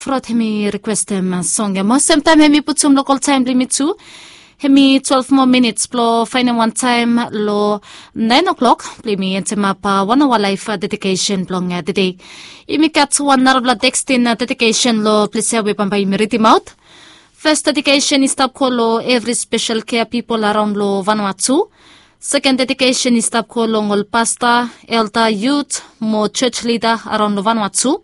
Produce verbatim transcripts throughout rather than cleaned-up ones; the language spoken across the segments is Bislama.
Frot hemi rikwestem song ya mo semtaem hemi putum lokol taem blong yumi tu. Hemi twelve moa minits blong faenem wan taem long naen o'klok blong yumi entemap wan aoa laef dedikesen blong tede. Yumi gat wan narafala tekstin dedikesen long ples ya we bambae yumi ridimaot. Fes dedikesen i stap go long evri spesel kea pipol araon long vanua tu. Seken dedikesen i stap go long ol pasta, elda, yut mo jos lida araon long vanua tu.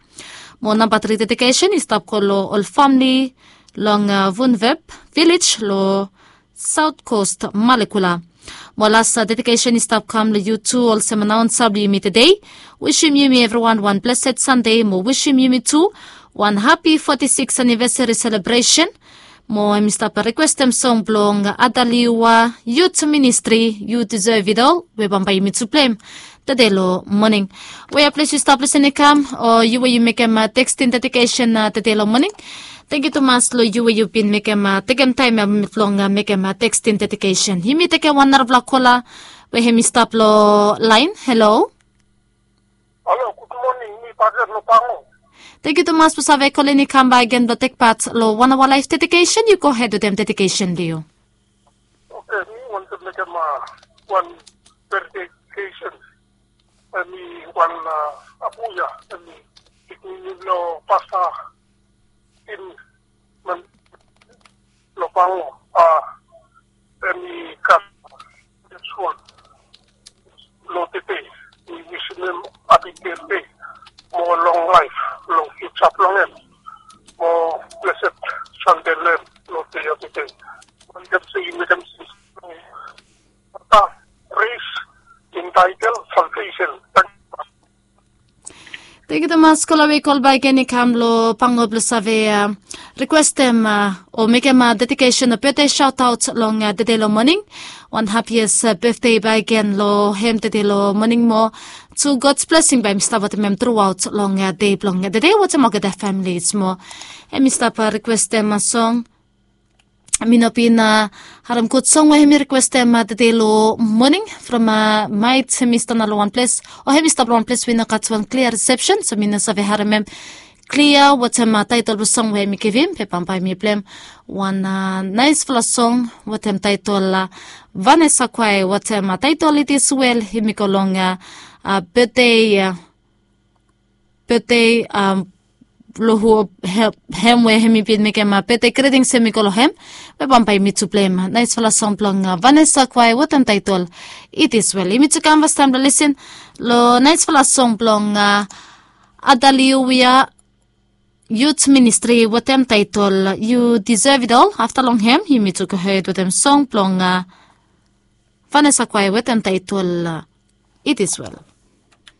Mo namba tri dedikesen i stap go long ol famle long vunvep vilej long saot kost malekula. Mo las dedikesen i stap kam long yu tu olsem anaonsa blong yumi tede. Wisim yumi evriwan wan blesed sande mo wisim yumi tu wan hapi foti siks anivesari selebresen. Mo hem i stap rikwestem song blong adaliua yut ministri yu disev it ol we bambae yumi tu plem tede long moning. We ya ples yu stap lisin i kam o yu we yu mekem tekstin dedikesen tede long moning. Tengiu tumas long yu we yu bin mekem tekem taem ya blong mekem tekstin dedikesen. Yumi tekem wan narafala kola we hem i stap long laen. Helo. Halo, gud moning, mi bakegen long Pango. Tengiu tumas blong save kolin i kam bak gen blong tek pat long wan aoa laef dedikesen. Yu gohed wetem dedikesen blong yu. Oke, mi wantem mekem wan dedikesen. Hemi wan abuya hemi pikinini blong pasta in man long Pango. Hemi gat suol long tede. Mi wisim hem hapi betde mo long laef long fiuja blong hem mo blesed sande long hem long dei ya tede. Wantem se i mekem sins long pasta pres in taetel salvesen. Tengiu tumas kola we i kol bak gen i kam long Pango blong save rikwestem o mekem dedikesen o betde saotaot long tede long moning. Wan hapies betde bak gen long hem tede long moning mo tu gods blesing bae hem i stap wetem hem truaot long dei blong tede wetem olgeta famili mo hem i stap rikwestem song. Mi no bin harem gud song we hem i rikwestem tede long moning from maet hem i stap long wan ples o hem i stap long wan ples we i no gat wan klia risepsen so mi no save harem hem klia wetem taetol blong song we hem i givim be bambae mi plem wan naesfala song wetem taetol vanesa kwae wetem taetol it is wel. Hem i go long betde betde long hu hem we hem i bin mekem betde gritings hem i go long hem. Be bambae mi tu plem naesfala song blong vanesa kwae wetem taetol it is wel. Yumi tu kam fastaem blong lisin long naesfala song blong adaliuia yut ministri wetem taetol yu disev it ol. Afta long hem yumi tu gohed wetem song blong vanesa kwae wetem taetol it is wel.